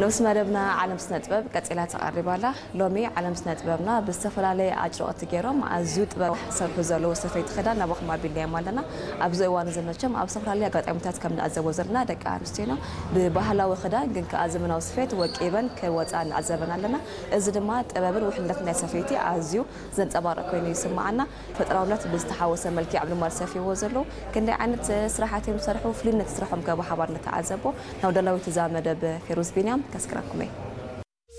ንኡስ መደብና ዓለም ስነ ጥበብ ቀጺላ ተቐሪባ ኣላ። ሎሚ ዓለም ስነ ጥበብና ብዝተፈላለየ ኣጭርቕቲ ገይሮም ኣዝዩ ጥበብ ዝሰርሑ ዘለዉ ሰፈይቲ ክዳን ናባኹም ኣቢልናዮም ኣለና። ኣብዚ እዋን እዚ መቸም ኣብ ዝተፈላለዩ ኣጋጣሚታት ከም ንዕዘቦ ዘለና ደቂ ኣንስትዮና ብባህላዊ ክዳን ግን ከኣ ዘመናዊ ስፌት ወቂበን ክወጻ ንዕዘበን ኣለና። እዚ ድማ ጥበብን ውሕልነትን ናይ ሰፈይቲ ኣዝዩ ዘንጸባርቕ ኮይኑ ይስምዓና። ፈጠራውነት ብዝተሓወሰ መልክዕ ኣብ ልማድ ሰፊዎ ዘለዉ ክንደይ ዓይነት ስራሓት እዮም ዝሰርሑ? ፍሉይነት ስራሖም ከ ብሓባር ንተዓዘቦ። ናብ ደላዊት እዛ መደብ ፌሩዝ ቢንያም ከስክረኩም እየ።